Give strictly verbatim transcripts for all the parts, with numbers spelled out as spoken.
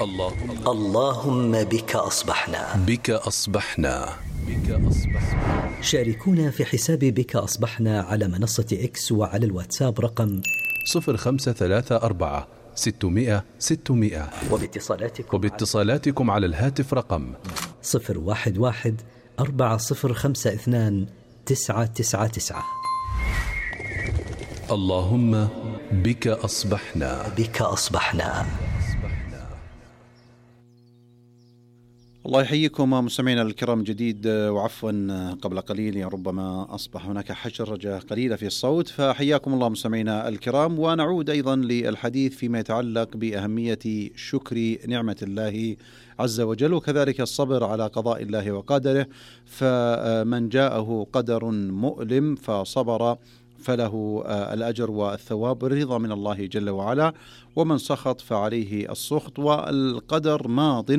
اللهم اللهم بك أصبحنا بك أصبحنا بك أصبحنا. شاركونا في حساب بك أصبحنا على منصة إكس وعلى الواتساب رقم صفر خمسة ثلاثة أربعة ستمائة ستمائة وباتصالاتكم, وباتصالاتكم على الهاتف رقم صفر واحد واحد أربعة صفر خمسة اثنان تسعة تسعة تسعة. اللهم بك أصبحنا بك أصبحنا. الله يحييكم مستمعينا الكرام جديد، وعفوا قبل قليل ربما أصبح هناك حشرجة قليلة في الصوت، فحياكم الله مستمعينا الكرام. ونعود أيضا للحديث فيما يتعلق بأهمية شكر نعمة الله عز وجل، وكذلك الصبر على قضاء الله وقدره. فمن جاءه قدر مؤلم فصبر فله الأجر والثواب الرضا من الله جل وعلا، ومن سخط فعليه السخط، والقدر ماض،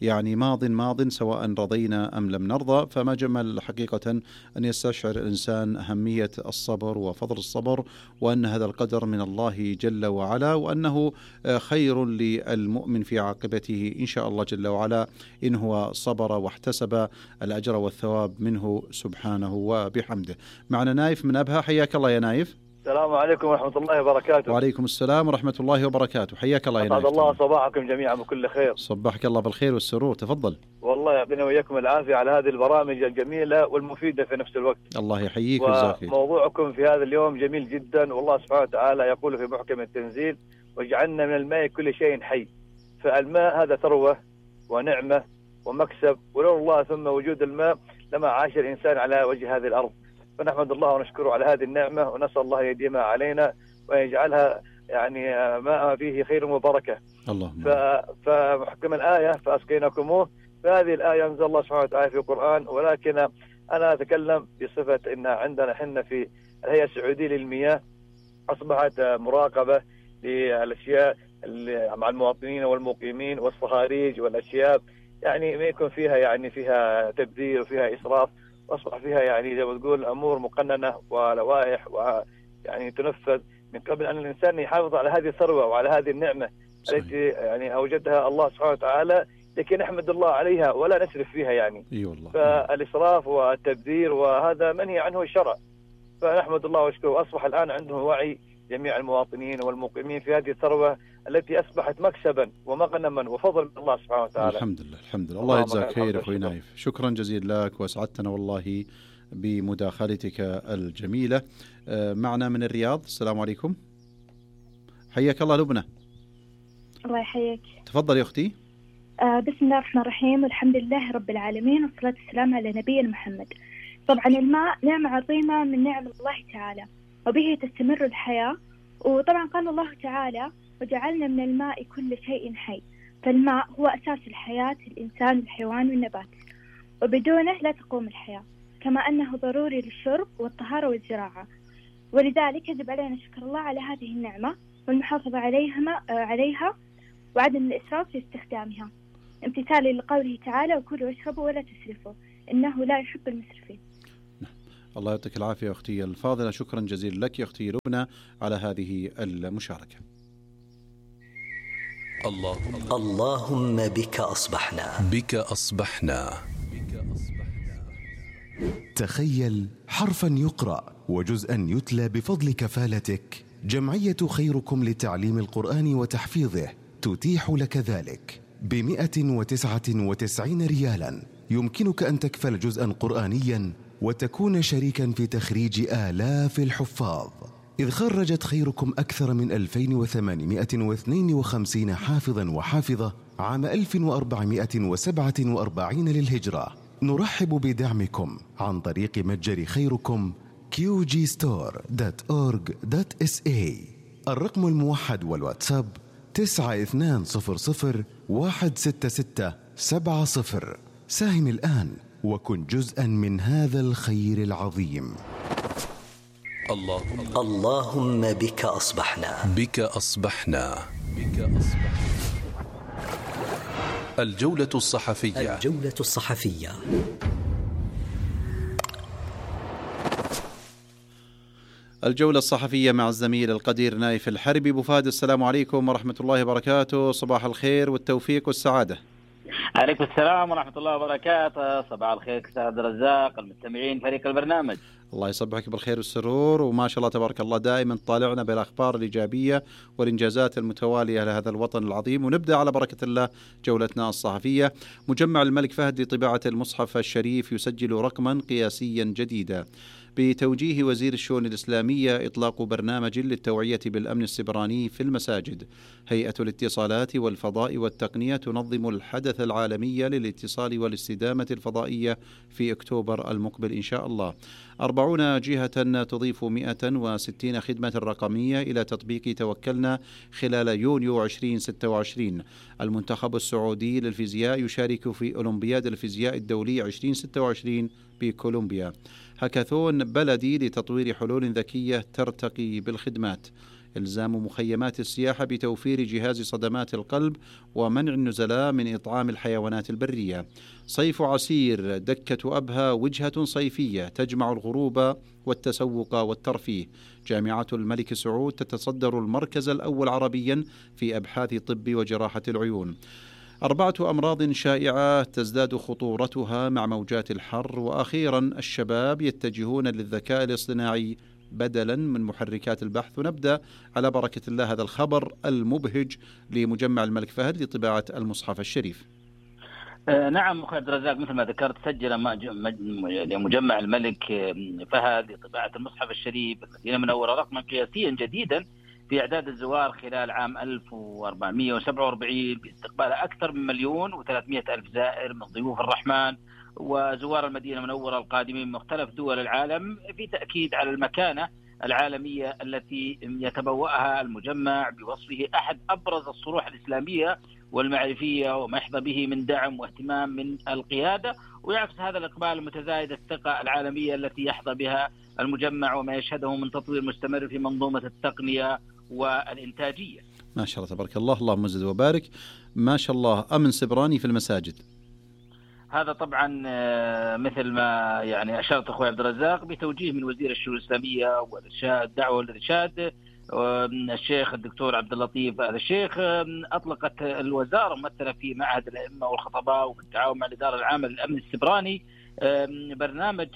يعني ماض ماض سواء رضينا أم لم نرضى. فما جمل حقيقة أن يستشعر الإنسان أهمية الصبر وفضل الصبر، وأن هذا القدر من الله جل وعلا، وأنه خير للمؤمن في عاقبته إن شاء الله جل وعلا إن هو صبر واحتسب الأجر والثواب منه سبحانه وبحمده. معنا نايف من أبها، حياك الله يا نايف. السلام عليكم ورحمة الله وبركاته. وعليكم السلام ورحمة الله وبركاته، حياك الله يا نايف. أسعد الله صباحكم جميعا بكل خير. صبحك الله بالخير والسرور، تفضل. والله يعطينا وإياكم العافية على هذه البرامج الجميلة والمفيدة في نفس الوقت. الله يحييك ويجزاك خير. وموضوعكم في هذا اليوم جميل جدا، والله سبحانه وتعالى يقول في محكم التنزيل: وجعلنا من الماء كل شيء حي. فالماء هذا ثروة ونعمة ومكسب، ولولا الله ثم وجود الماء لما عاش الإنسان على وجه هذه الأرض. فنحمد الله ونشكره على هذه النعمة، ونسأل الله يديمها علينا ويجعلها يعني ماء فيه خير وبركة. اللهم. فمحكم الآية فأسقيناكموه، فهذه الآية أنزل الله سبحانه وتعالى في القرآن، ولكن أنا أتكلم بصفة إن عندنا حنا في الهيئة السعودية للمياه أصبحت مراقبة للأشياء مع المواطنين والمقيمين والصهاريج والأشياء يعني ما يكون فيها يعني فيها تبذير وفيها إسراف، أصبح فيها يعني زي ما تقول أمور مقننة ولوائح ويعني تنفذ من قبل أن الإنسان يحافظ على هذه الثروة وعلى هذه النعمة التي يعني أوجدها الله سبحانه وتعالى، لكن نحمد الله عليها ولا نسرف فيها يعني. أي والله. فالإسراف والتبذير وهذا منهي عنه الشرع، فنحمد الله ونشكره. أصبح الآن عنده وعي جميع المواطنين والمقيمين في هذه الثروة التي أصبحت مكسبا ومغنما وفضل من الله سبحانه وتعالى. الحمد لله الحمد لله. الله يجزاك خير أخوي نايف، شكرا جزيلا لك وأسعدتنا والله بمداخلتك الجميلة. معنا من الرياض، السلام عليكم. حياك الله لبنى. الله يحييك. تفضل يا أختي. آه بسم الله الرحمن الرحيم، والحمد لله رب العالمين، والصلاة والسلام على نبينا محمد. طبعا الماء نعمة عظيمة من نعم الله تعالى، وبه تستمر الحياة. وطبعا قال الله تعالى: وجعلنا من الماء كل شيء حي. فالماء هو أساس الحياة، الإنسان والحيوان والنبات، وبدونه لا تقوم الحياة، كما أنه ضروري للشرب والطهارة والزراعة. ولذلك يجب علينا شكر الله على هذه النعمة والمحافظة عليها عليها وعدم الإسراف في استخدامها، امتثالا لقوله تعالى: وكلوا واشربوا ولا تسرفوا إنه لا يحب المسرفين. الله يعطيك العافية يا أختي الفاضلة، شكرا جزيلا لك يا أختي لبنى على هذه المشاركة. اللهم اللهم بك أصبحنا بك أصبحنا. تخيل حرفا يقرأ وجزءا يتلى بفضل كفالتك. جمعية خيركم لتعليم القرآن وتحفيظه تتيح لك ذلك بمئة وتسعة وتسعين ريالا. يمكنك أن تكفل جزءا قرآنيا وتكون شريكا في تخريج آلاف الحفاظ، إذ خرجت خيركم أكثر من ألفين وثمانمائة واثنين وخمسين حافظا وحافظة عام ألف وأربعمائة وسبعة وأربعين للهجرة. نرحب بدعمكم عن طريق متجر خيركم كيو جي ستور دوت أورج دوت إس إيه. الرقم الموحد والواتساب تسعة اثنان صفر صفر واحد ستة ستة سبعة صفر. ساهم الآن وكن جزءا من هذا الخير العظيم. اللهم اللهم بك أصبحنا بك أصبحنا بك أصبحنا. الجولة الصحفية. الجولة الصحفية. الجولة الصحفية مع الزميل القدير نايف الحربي. أبو فهد، السلام عليكم ورحمة الله وبركاته، صباح الخير والتوفيق والسعادة. عليكم السلام ورحمة الله وبركاته، صباح الخير أستاذ عبد الرزاق، المستمعين، فريق البرنامج. الله يصبحك بالخير والسرور، وما شاء الله تبارك الله دائما طالعنا بالأخبار الإيجابية والإنجازات المتوالية لهذا الوطن العظيم. ونبدأ على بركة الله جولتنا الصحفية. مجمع الملك فهد لطباعة المصحف الشريف يسجل رقما قياسيا جديدا. بتوجيه وزير الشؤون الإسلامية إطلاق برنامج للتوعية بالأمن السبراني في المساجد. هيئة الاتصالات والفضاء والتقنية تنظم الحدث العالمي للاتصال والاستدامة الفضائية في أكتوبر المقبل إن شاء الله. أربعون جهة تضيف مئة وستين خدمة رقمية إلى تطبيق توكلنا خلال يونيو ألفين وستة وعشرين. المنتخب السعودي للفيزياء يشارك في أولمبياد الفيزياء الدولي ألفين وستة وعشرين بكولومبيا. هاكاثون بلدي لتطوير حلول ذكية ترتقي بالخدمات. إلزام مخيمات السياحة بتوفير جهاز صدمات القلب ومنع النزلاء من إطعام الحيوانات البرية. صيف عسير، دكة أبها وجهة صيفية تجمع الغروب والتسوق والترفيه. جامعة الملك سعود تتصدر المركز الأول عربيا في أبحاث طب وجراحة العيون. أربعة أمراض شائعة تزداد خطورتها مع موجات الحر. وأخيرا الشباب يتجهون للذكاء الاصطناعي بدلا من محركات البحث. ونبدأ على بركة الله هذا الخبر المبهج لمجمع الملك فهد لطباعة المصحف الشريف. آه نعم أخي عبد الرزاق، مثل ما ذكرت سجل مجمع الملك فهد لطباعة المصحف الشريف بالمدينة المنورة رقما قياسيا جديدا في إعداد الزوار خلال عام ألف وأربعمئة وسبعة وأربعين باستقبال أكثر من مليون وثلاثمئة ألف زائر من ضيوف الرحمن وزوار المدينة المنورة القادمين من مختلف دول العالم، في تأكيد على المكانة العالمية التي يتبوأها المجمع بوصفه أحد أبرز الصروح الإسلامية والمعرفية وما يحظى به من دعم واهتمام من القيادة. ويعكس هذا الإقبال المتزايد الثقة العالمية التي يحظى بها المجمع وما يشهده من تطوير مستمر في منظومة التقنية والإنتاجية. ما شاء الله تبارك الله، اللهم زد وبارك. ما شاء الله أمن سبراني في المساجد. هذا طبعا مثل ما يعني أشرت أخوي عبد الرزاق بتوجيه من وزير الشؤون الإسلامية والدعوة والإرشاد الشيخ الدكتور عبد اللطيف آل الشيخ. أطلقت الوزارة ممثلة في معهد الأئمة والخطباء وبالتعاون مع الإدارة العامة للأمن السبراني برنامج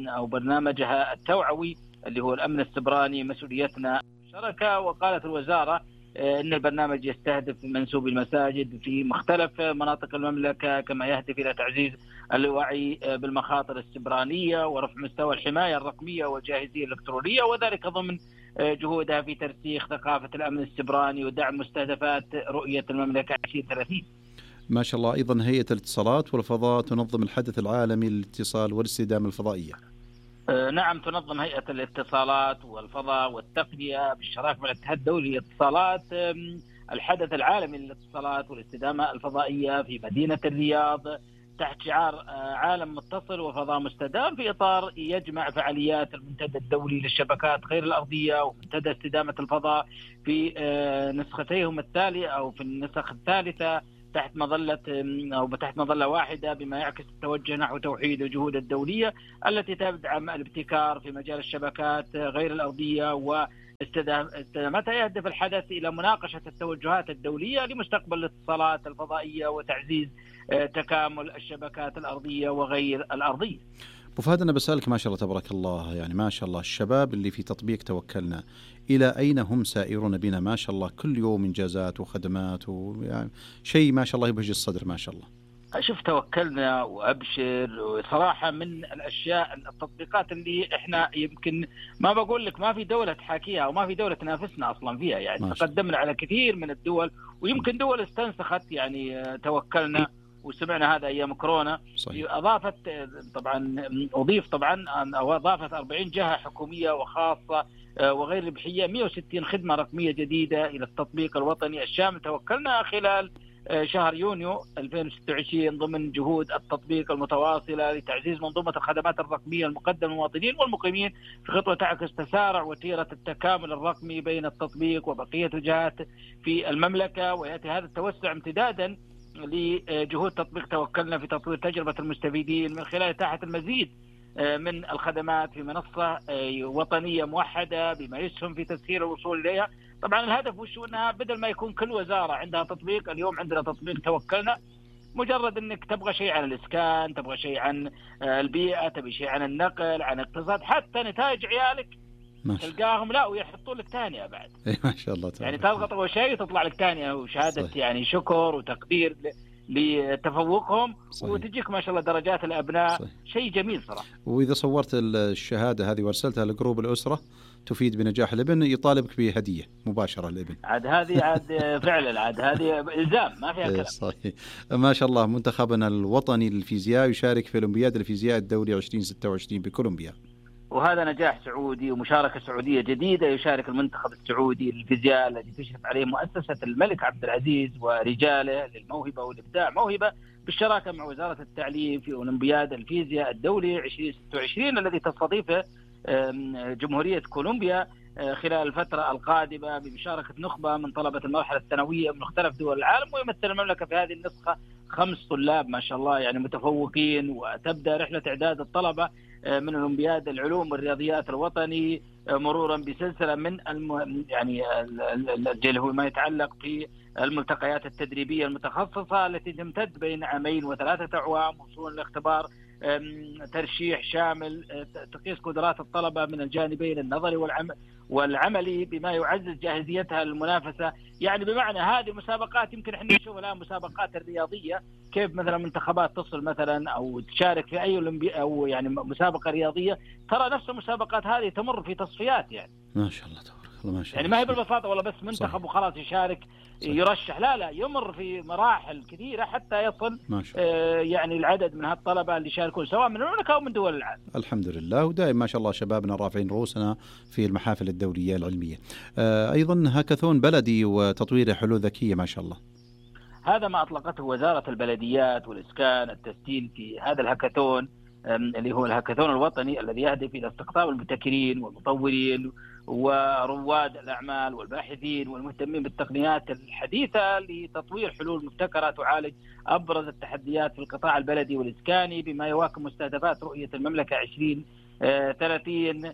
أو برنامجها التوعوي اللي هو الأمن السبراني مسؤوليتنا شركة. وقالت الوزارة إن البرنامج يستهدف منسوبي المساجد في مختلف مناطق المملكة، كما يهدف إلى تعزيز الوعي بالمخاطر السبرانية ورفع مستوى الحماية الرقمية والجاهزية الإلكترونية، وذلك ضمن جهودها في ترسيخ ثقافة الأمن السبراني ودعم مستهدفات رؤية المملكة ألفين وثلاثين. ما شاء الله. أيضا هيئة الاتصالات والفضاء تنظم الحدث العالمي للاتصال والاستدامة الفضائية. نعم، تنظم هيئة الاتصالات والفضاء والتقنية بالشراكة مع الاتحاد الدولي للاتصالات الحدث العالمي للاتصالات والاستدامة الفضائية في مدينة الرياض تحت شعار عالم متصل وفضاء مستدام، في إطار يجمع فعاليات المنتدى الدولي للشبكات غير الأرضية ومنتدى استدامة الفضاء في نسختيهم التالية أو في النسخ الثالثة تحت مظلة أو تحت مظلة واحدة، بما يعكس التوجه نحو توحيد الجهود الدولية التي تدعم الابتكار في مجال الشبكات غير الأرضية واستدامتها. يهدف الحدث إلى مناقشة التوجهات الدولية لمستقبل الاتصالات الفضائية وتعزيز تكامل الشبكات الأرضية وغير الأرضية. أبو فهد، أنا بسألك ما شاء الله تبارك الله، يعني ما شاء الله الشباب اللي في تطبيق توكلنا إلى أين هم سائرون بنا؟ ما شاء الله كل يوم إنجازات وخدمات ويعني شيء ما شاء الله يبهج الصدر ما شاء الله. شوف توكلنا وأبشر صراحة من الأشياء التطبيقات اللي إحنا يمكن ما بقول لك ما في دولة تحاكيها وما في دولة تنافسنا أصلا فيها، يعني تقدمنا على كثير من الدول ويمكن دول استنسخت يعني توكلنا، وسمعنا هذا أيام كورونا. صحيح. أضافت طبعا أضيف طبعا أو أضافت أربعين جهة حكومية وخاصة وغير ربحية مئة وستين خدمة رقمية جديدة إلى التطبيق الوطني الشامل توكلنا خلال شهر يونيو ألفين وستة وعشرين ضمن جهود التطبيق المتواصلة لتعزيز منظومة الخدمات الرقمية المقدمة للمواطنين والمقيمين في خطوة تعكس تسارع وتيرة التكامل الرقمي بين التطبيق وبقية الجهات في المملكة. ويأتي هذا التوسع امتدادا لجهود تطبيق توكلنا في تطوير تجربة المستفيدين من خلال إتاحة المزيد من الخدمات في منصة وطنية موحدة بما يسهم في تسهيل الوصول إليها. طبعا الهدف وش أنها بدل ما يكون كل وزارة عندها تطبيق، اليوم عندنا تطبيق توكلنا، مجرد أنك تبغى شيء عن الإسكان، تبغى شيء عن البيئة، تبغى شيء عن النقل، عن الاقتصاد، حتى نتائج عيالك تلقاهم لا ويحطوا لك تانية بعد. ما شاء الله تعالى. يعني تضغط أول شيء وتطلع لك تانية وشهادة صحيح. يعني شكر وتقدير لتفوقهم صحيح. وتجيك ما شاء الله درجات الأبناء صحيح. شيء جميل صراحة. وإذا صورت الشهادة هذه وارسلتها لجروب الأسرة تفيد بنجاح الابن، يطالبك بهدية مباشرة الابن. عاد هذه عاد فعلا عاد هذه إلزام ما فيها كلام. صحيح. ما شاء الله. منتخبنا الوطني للفيزياء يشارك في أولمبياد الفيزياء الدولي عشرين ستة وعشرين بكولومبيا، وهذا نجاح سعودي ومشاركة سعودية جديدة. يشارك المنتخب السعودي للفيزياء الذي تشرف عليه مؤسسة الملك عبد العزيز ورجاله للموهبة والإبداع موهبة، بالشراكة مع وزارة التعليم في أولمبياد الفيزياء الدولي عشرين ستة وعشرين الذي تستضيفه جمهورية كولومبيا خلال الفترة القادمة بمشاركة نخبة من طلبة المرحلة الثانوية من مختلف دول العالم. ويمثل المملكة في هذه النسخة خمس طلاب ما شاء الله يعني متفوقين. وتبدأ رحلة إعداد الطلبة من أولمبياد العلوم والرياضيات الوطني مرورا بسلسلة من الم... يعني اللي هو ما يتعلق في الملتقيات التدريبية المتخصصة التي تمتد بين عامين وثلاثة أعوام، وصولا لاختبار ترشيح شامل تقيس قدرات الطلبة من الجانبين النظري والعمل والعملي بما يعزز جاهزيتها للمنافسة. يعني بمعنى هذه المسابقات يمكن احنا نشوف الآن مسابقات الرياضية كيف مثلا منتخبات تصل مثلا أو تشارك في أي أولمبي أو يعني مسابقة رياضية، ترى نفس المسابقات هذه تمر في تصفيات. يعني ما شاء الله تبارك الله ما شاء الله. يعني ما هي بالبساطة والله بس منتخب وخلاص يشارك صحيح. يرشح لا لا يمر في مراحل كثيرة حتى يصل آه يعني العدد من هالطلبة اللي يشاركون سواء من المملكة أو من دول العالم. الحمد لله. ودائما ما شاء الله شبابنا رافعين رؤوسنا في المحافل الدولية العلمية. آه أيضا هاكاثون بلدي وتطوير حلول ذكية ما شاء الله. هذا ما أطلقته وزارة البلديات والإسكان التسجيل في هذا الهاكاثون اللي هو الهاكاثون الوطني الذي يهدف إلى استقطاب المبتكرين والمطورين ورواد الأعمال والباحثين والمهتمين بالتقنيات الحديثة لتطوير حلول مبتكرة تعالج أبرز التحديات في القطاع البلدي والإسكاني بما يواكب مستهدفات رؤية المملكة عشرين ثلاثين.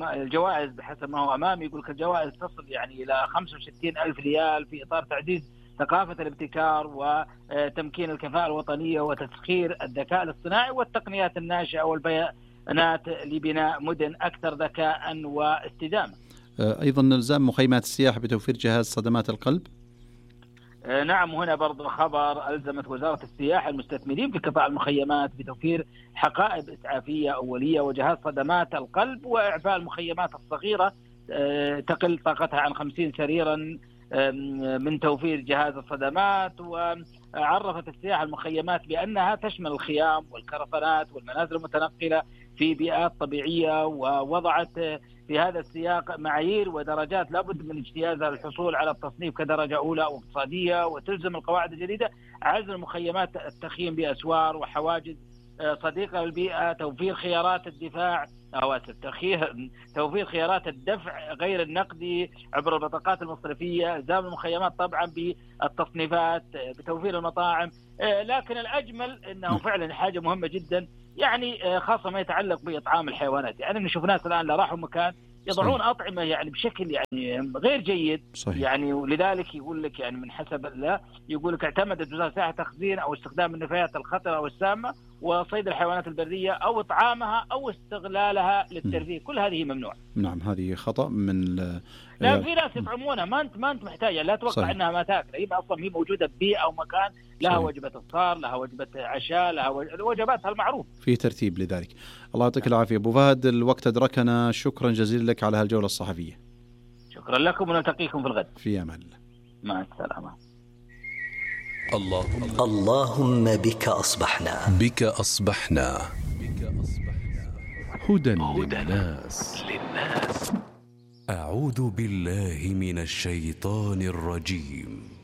الجوائز بحسب ما هو أمامي يقول لك الجوائز تصل يعني إلى خمسة وستين ألف ريال في إطار تعزيز ثقافة الابتكار وتمكين الكفاءة الوطنية وتسخير الذكاء الاصطناعي والتقنيات الناشئة والبيانات لبناء مدن أكثر ذكاء واستدامة. أيضا نلزم مخيمات السياحة بتوفير جهاز صدمات القلب. نعم، وهنا برضو خبر ألزمت وزارة السياحة المستثمرين في قطاع المخيمات بتوفير حقائب إسعافية أولية وجهاز صدمات القلب وإعفاء المخيمات الصغيرة تقل طاقتها عن خمسين سريرا من توفير جهاز الصدمات. وعرفت السياحة المخيمات بأنها تشمل الخيام والكرفانات والمنازل المتنقلة في بيئات طبيعية، ووضعت في هذا السياق معايير ودرجات لابد من اجتيازها للحصول على التصنيف كدرجة أولى أو اقتصادية. وتلزم القواعد الجديدة عزل المخيمات التخييم بأسوار وحواجز صديقة للبيئة، توفير خيارات الدفاع أو توفير خيارات الدفع غير النقدي عبر البطاقات المصرفية، إلزام المخيمات طبعا بالتصنيفات، بتوفير المطاعم. لكن الأجمل أنه فعلا حاجة مهمة جدا، يعني خاصة ما يتعلق بإطعام الحيوانات. يعني نشوف ناس الآن لا راحوا مكان يضعون صحيح. أطعمة يعني بشكل يعني غير جيد صحيح. يعني ولذلك يقول لك يعني من حسب لا يقول لك اعتمدت وزارة السياحة تخزين أو استخدام النفايات الخطرة أو السامة وصيد الحيوانات البرية أو إطعامها أو استغلالها للترفيه. كل هذه ممنوع. نعم هذه خطأ من لا في ناس يطعمونها ما أنت ما أنت محتاجة، لا توقع صحيح. أنها ما تأكل، هي أصلا هي موجودة ببيئة أو مكان لها صحيح. وجبة إفطار، لها وجبة عشاء، لها وجباتها المعروف في ترتيب لذلك. الله يعطيك العافية أبو فهد، الوقت أدركنا، شكرا جزيلا لك على هالجولة الصحفية. شكرا لكم ونلتقيكم في الغد. في أمان الله. مع السلامة. اللهم اللهم بك أصبحنا بك أصبحنا هدى للناس. أعوذ بالله من الشيطان الرجيم.